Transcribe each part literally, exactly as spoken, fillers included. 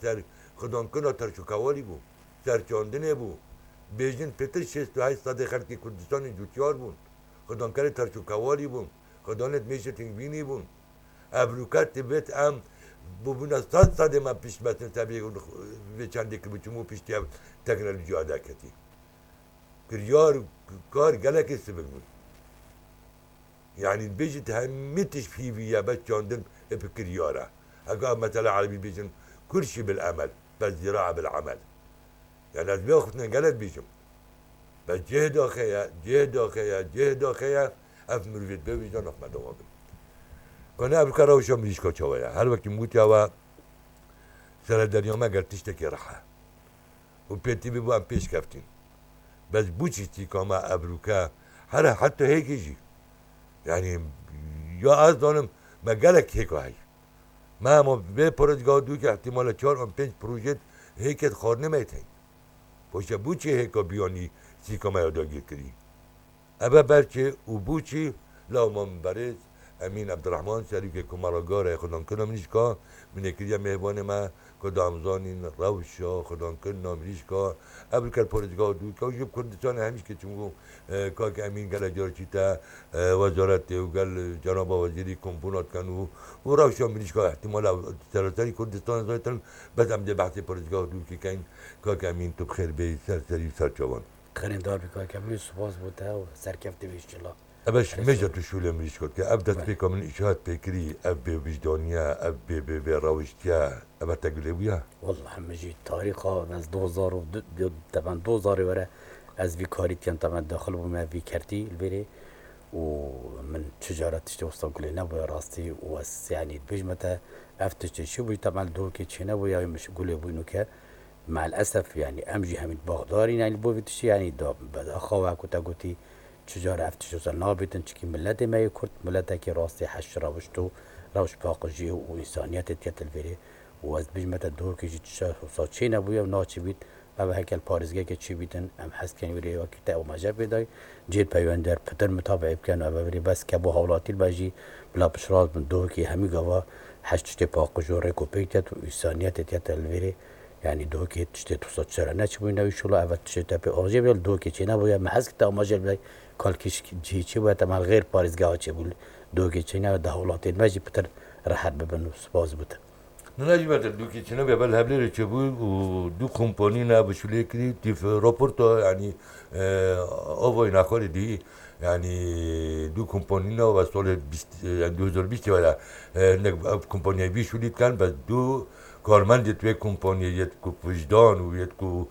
ser xidankirina terşokewalî bû, ser çandinê bû. Bêjin pêtir şêst û heşt sedê xelkê Kurdistanê cûtyar bûn, xidankerê terşokewalî bûn, xidanê mêşê têkbînî bûn. Evroke divêt em bûbûna sed sedê me piştmetin ser vê, vê çendê kiribû, çimû piştî ev teknolojiya derketî. Kiryar, kar gelekê sivik bûn. Yanî bêjit hemî tişt hîvî ye, bes çandin ê bi kiryar e. Heka mesela erebî bêjin kurşî bil emel, bes zîraa bil emel. Yani ez vê xwe gelek bêjim. Bes cih daxê ye, cih daxê ye, cih daxê ye, ev mirovêt bê wî de naf me dewa bin. Kone ev ka rewşa mirîşka çawa ye? Her wekî min gotiya we, serederiya me ger tiştekî rehe û pêtî bî bû em pêş keftîn. Bes bû çî tîka me evroke, here heta hêkê jî. Yani ya ez zanim me gelek hêka heye. Me hema vê parêzgeha dûkê ihtimale çar an pênc proje hêkê xwarinê me tên. Poşe bû çi hêka biyanî sîka me ya dagîr kirî. Eve berçê û bû çi law me min berêz Emîn Ebdirehman, serokê Komara Garê Xudankirina Mirîşka, min ê kiriye mêvanê me, ku da em zanîn rewşa xudankirina mirîşka, ev li ker parêzgeha dû, ke jî bi Kurdistanê hemîşkê çimû, e, kak Emîn gele car çîte, e, wezaretê û gel cenaba wezîrî kompûna dikin û, û rewşa mirîşka ihtimala seraserî Kurdistanê zaytin, bes em dê behsê parêzgeha dûkê keyn, kak Emîn tu bi xêr bêyî ser serî û ser çavan. Xêrên dar bî kak Emîn, spas bo te û serkefte bî înşellah. Eve ji mêja tu şûlê mirîşka dike. Ev destpêka min îşaret pê kirî, ev bêwijdaniye, ev bê, bê, bê rewiştiye, eve te gulê bûye? Wallahî min jî tarîxa ez du hezar û du, du, teban du hezarê were ez vî karî dikem, teban daxil bûme vî kertî li vêrê û min çi cara tiştê wisa gulê nebûye rastî û ez, yanî, bêjme te ev tiştê çi bûyî, teban li Duhokê çê nebûye, min gulê bûyî nûke. Me'l esef, yanî, em jî hemî baxdarîn, yanî, li bo vî tiştî, yanî, da, bi daxa we ku te gotî, çi cara ev tişt wisa nabîtin, çikî miletê me yê Kurd, miletekî rastî heş rewişt û rewş paqijî û însaniyetê diket li vêrê. Û ez dibêjime te, Duhokê jî tişt wisa çê nebûye û naçibît. Ev hekel parêzgehekê çêbîtin, em hez dikin wêrê wekî te amaje pê dayî. Cihê peywendar pitir mutabe'ê bikin û ev vêrê bes ke bo hawlatî be jî bila piştrast bin. Duhokê hemî gava heş tiştê paqij û rêk û pêk diket û însaniyetê diket li vêrê. Yanî Duhokê tiştê tu sed sere neçibûyî newî şûla, eve tiştê te pê amaje bûye, li Duhokê çênebûye. Me hez kir te amaje bidayî, kalkî cihê çêbûye, te me li xêr parêzgeha çêbû, Duhokê çênebûye, da hawlatên me jî pitir rehet bibin û spas bo te. Nina jî me te Duhokê çênebûye, bel Hevlêrê çêbû û du kompanî ne bi şûlê kirî, tîf raporta, yanî, e, avayê nexwarê dî, yanî du kompanî ne ve solê bîst, yanî du hezar bîst were, e, ne, ev kompanîyê vî şûlî dikin, bes du karmendê di wê kompaniyê yê ku wijdan û yê ku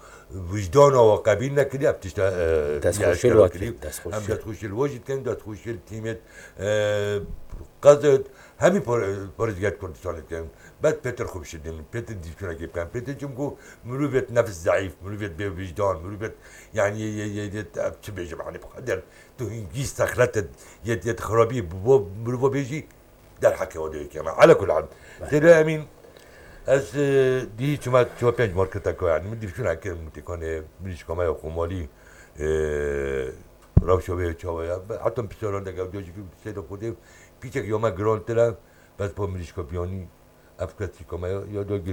wijdana we qebîl nekiriye, ev tişta, e, Destxweşî li we kirî. Em destxweşî li we jî dikin, destxweşî li tîmê, e, qezet, hemî par-, parêzgehê Kurdistanê dikin. Bes pêtir xwe bişidin, pêtir dîvçûnekê bikin, pêtir çimku mirovêt nefs zeîf, mirovêt bê wijdan, mirovêt, yanî, yê, yê, yê, yê, ev çi bêjim, yanî, bi qeder tu hingî sexlet yê, yê xirabî bi bo mirova bêjî, derheqê we de yekê me. Ala kul hal. Beh. Têde Emîn, ez, e, dî çima ço pênc marketeka, yanî, min dîvçûnekê min têkanê mirîşka me ya Komalî, e, rewşa wê çawa ya. Be, heta pisaran de gevda jî seyda xwedê pîçek ya me girantir e, bes bo mirîşka biyanî, ev kesîka me ya, ya dagir